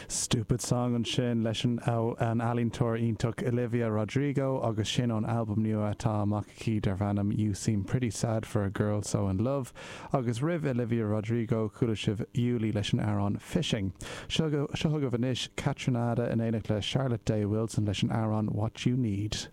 Stupid Song ansin leis an ealaíontóir iontach Olivia Rodrigo agus sin ón albam nua atá amach aici darb ainm You Seem Pretty Sad For A Girl So In Love. Agus roimh Olivia Rodrigo chuala sibh Julie leis an amhrán Fishing. Seo chugaibh anois Kaytranada in éineacht le Charlotte Day Wilson leis an amhrán What You Need.